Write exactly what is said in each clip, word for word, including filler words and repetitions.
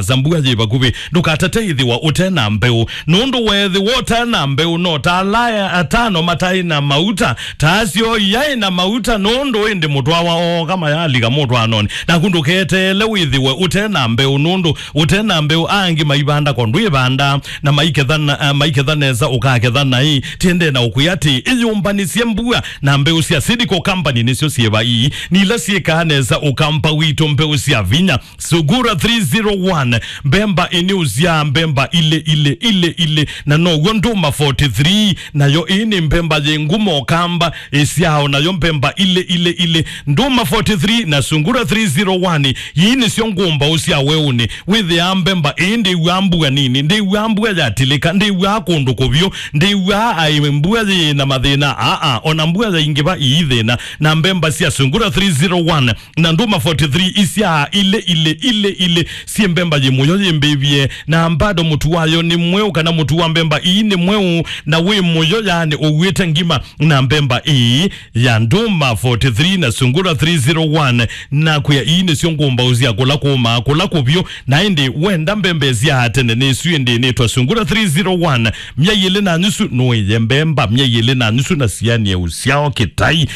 Asa mbua yĩ vakuvĩ, ndũkatate ĩthĩwa ũte na mbeũ, nũndũ weethĩwa ũte na mbeũ, no ta ala atano mataĩ na mauta, ta asyo iyaĩ na mauta, nũndũ ĩndĩ mũtwawa ooka mayalika mũtwaanonĩ. Naku ndũketeele wĩthĩwe ũte na mbeũ, nũndũ ũte na mbeũ angĩ maivanda ko ndwĩvanda, na maiketha na, eh, maiketha nesa ũkaketha naĩ. Tiendee na ũkwĩa atĩ, ĩyũmbanĩsye mbua na mbeũ sya Seedco Company nĩsyo syĩva ii, nĩ ila syĩkaa nesa ũkampa witũ mbeũ sya vinya. Sungura three zero one, mbemba ĩnĩ ũsyaa mbemba ilĩ, ilĩ, ilĩ, ilĩ, na now'o ndũma forty three, nayo ĩĩ nĩ mbemba yĩ ngumo kamba ĩsyaa o nayo mbemba ilĩ, ilĩ, ilĩ. Ndũma forty three na Sungura three zero one, ii nĩsyo ngũmbaũ sya weũnĩ. Wĩthĩaa mbemba ĩĩ ndĩw'aa mbua nini, ndĩw'aa mbua yatilĩka, ndĩw'aa kũndũ kũvyũ, ndĩw'aa aĩ mbua yĩ na mathĩna, aa, ona mbua yaingĩva ii thĩna. Na mbemba sya Sungura three zero one na ndũma forty three isyaa ilĩ, ilĩ, ilĩ, ilĩ, syĩ mbemba yĩ mũyo yĩmbĩvye, na bado mũtu wayo nĩ mweũ, kana mũtu wa mbemba ii nĩ mweũ, na wĩ mũyo, yaani ũw'ĩte ngima. Na mbemba ii ya ndũma forty three na Sungura three zero one, na kwĩa ii nĩsyo ngũmbaũ sya kũla kũmaa, kũla kũvyũ. Na ĩndĩ wenda mbemba ĩsyaa tene nĩ isu ĩndĩ nĩtwa Sungura three zero one, myei ĩlĩ na nusu nũĩe mbemba, myei ĩlĩ na nusu na sianie ũsyao kĩtai.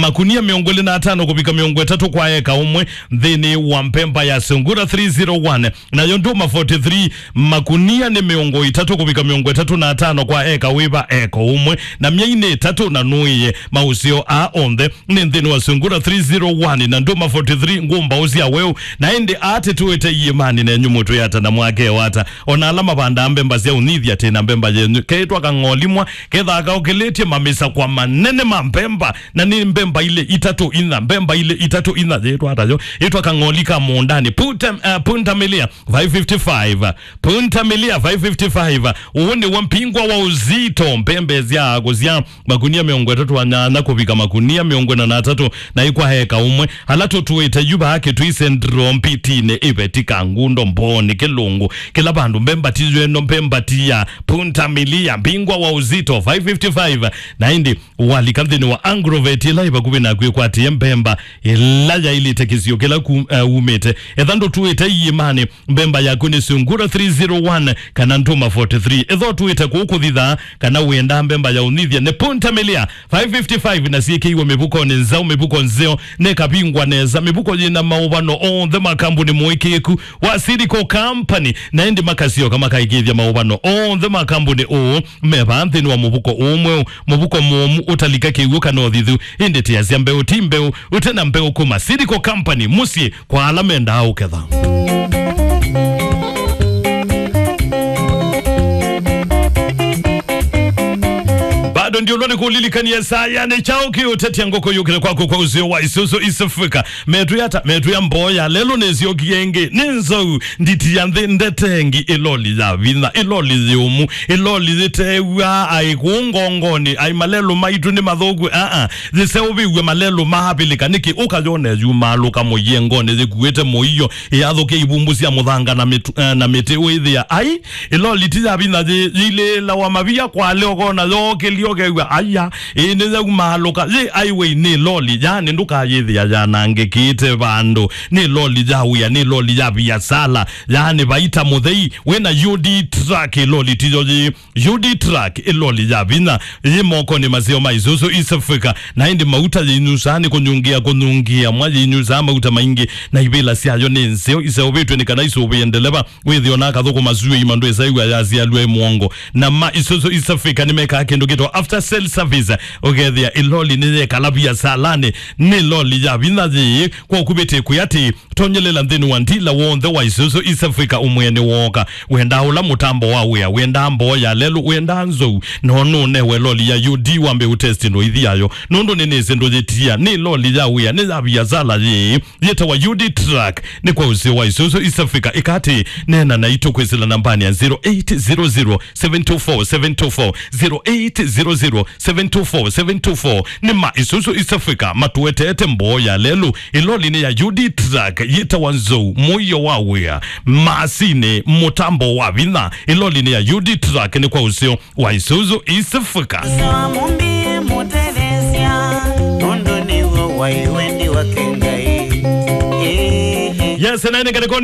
Makunia mĩongo ĩlĩ na atano kũvika mĩongo ĩtatũ kwa eka ũmwe nthĩnĩ wa mbemba ya Sungura three zero one, nayo ndũma forty three, makunia nĩ mĩongo ĩtatũ kũvika mĩongo ĩtatũ na atano kwa eka wĩva eka ũmwe, na myei nĩ ĩtatũ na nũĩe. Maũseo aa onthe nĩ nthĩnĩ wa Sungura three zero one na ndũma forty three ngũmbaũ sya weũ. Na ĩndĩ atĩ tũĩte iĩmanĩ nenyu mũtwĩata na mwakeo ata? Ona ala mavandaa mbemba sya ũnyithi atĩ na mbemba yenyu keĩtwa kang'olimwa, kethaa kaũkĩlĩtye mamisakwa manene ma mbemba, na nĩ mbemba ilĩ itatũ inya, mbemba ilĩ itatũ inya yĩtwa atayo, ĩtwa kang'oli ka mũũndanĩ. Puta, uh, pundamilia five fifty-five, pundamilia five fifty-five. Ũũ nĩw'o mpingwa wa ũzito, mbemba sya kũsya makunia mĩongo ĩtatũ na nyanya kũvika makunia mĩongo ĩna na atatũ, na ikwa eka ũmwe. Ala tũtũĩte yu vaa Kĩtui Central, Mbitinĩ, Iveti, Kangundo, Mbooni, Kĩlũngũ, kĩla vandũ mbemba ti yweno, mbemba ti ya pundamilia, mpingwa wa ũzito five fifty-five. Na ĩndĩ walika nthĩnĩ wa Agrovet ĩla ĩ vakuvĩ naku ĩkwatĩe mbemba ĩla yaĩlĩte kĩsio kĩla ku-, eh, umĩte. Etha ndũtũĩte iĩmanĩ, mbemba yaku nĩ Sungura three zero one kana ndũma forty three. Ethwa ũtũĩte kũu kũthithaa kana wĩendaa mbemba ya ũnyithi, nĩ pundamilia five fifty-five na syĩkĩiwe mĩvukonĩ nzaũ, mĩvuko nzeo, nĩ kavingwa nesa, mĩvuko yĩna maũvano onthe ma kambuni mũĩkĩĩku wa Seedco Company, na ĩndĩ makasyoka makaĩkĩĩthya maũvano onthe ma kambuni ũũ me vaa nthĩnĩ wa mũvuko ũũ mweũ, mũvuko mũomu ũtalika kĩw'ũ kana ũthithu. Ĩndĩ tĩasya mbeũ ti mbeũ, ũte na mbeũ kuma Seedco Company, mũsyĩ kwa ala mendaa ũketha. Bado ndio ũlwa nĩ kũlilikania saa ya nĩ kyaũ kĩũtetya ngũkũ yũkĩte kwaku kwa ũseo wa Isuzu East Africa. Metwĩata, metwĩa mboo ya lelũ nĩsyokie ĩngĩ. Nĩ nzou nditi ya nthĩ ndetengi, ĩloli ya vinya, ĩloli yĩũmu, ĩloli yĩtew'aa aĩ kũu ngongonĩ, aĩ malelũ maitũ nĩ mathũku, aa, yĩseũvĩw'e malelũ maavĩlĩka. Nĩkĩ ũkayone yumaalũka mũyengonĩ yĩkuĩte mũio, ĩyathũkĩa ivumbu sya mũthanga na mĩtu-, eh, na mĩtĩ wĩthĩa ai, ĩloli ti ya vinya yĩ-, yĩilĩĩlawa mavia kwale ũkona yookĩlya ũkew'a, aya, ĩĩ nĩyaumaalũka. Yĩ highway nĩ loli, yaani ndũkayĩthĩa yanangĩkĩte vandũ. Nĩ loli ya wĩa, nĩ loli ya viasala, yaani vaita mũthei. Wĩna U D truck, ĩloli tiyo yĩ. U D truck, ĩloli ya vinya, yĩ mokonĩ maseo ma Isuzu East Africa. Na ĩndĩ mauta yĩnyusaa nĩ kũnyungĩa, kũnyungĩa mwa yĩnyusaa mauta maingĩ, na ivĩla syayo nĩ nzeo, iseũvĩtw'e nĩ kana isũvĩe ndeleva. Wĩthĩo na akathũkũma syũa ima ndwĩsa ĩw'a yasialw'a ĩ mũongo. Na ma Isuzu East Africa nĩmekaa kĩndũ kĩtwa after sale service. Ũkethĩa ĩloli nĩyekala viasalanĩ, nĩ loli ya vinya yĩĩ. Kwa ũkuvĩtĩ kwĩ atĩ, tonyelela nthĩnĩ wa ndila w'onthe wa Isuzu East Africa ũmwene wooka. Wendaa ũla mũtambo wa wĩa, wendaa mboo ya lelũ, wendaa nzou, no nũnewe loli ya U D wambe ũtesti noithi yayo. Nũndũ nĩnĩsĩ ndũyĩtia, nĩ loli ya wĩa, nĩ ya viasala yĩĩ. Yĩtawa U D Truck, nĩ kwa ũseo wa Isuzu East Africa. Ĩkatĩ, neena naitũ kwĩsĩla nambanĩ ya zero eight zero zero, seven two four, seven two four, zero eight zero zero, seven two four, seven two four. Nĩ ma Isuzu East Africa matũeteete mboo ya lelũ. Ĩlolinĩ ya U D Truck yĩtawa nzou, mũio wa wĩa, masinĩ, mũtambo wa vinya. Ĩlolinĩ ya U D Truck nĩ kwa ũseo wa Isuzu East Africa. Sawa mũmbie mũtetheesya, nũndũ nĩw'o waĩ wendi wake Ngai. Ĩĩ. Yes, na nĩ katika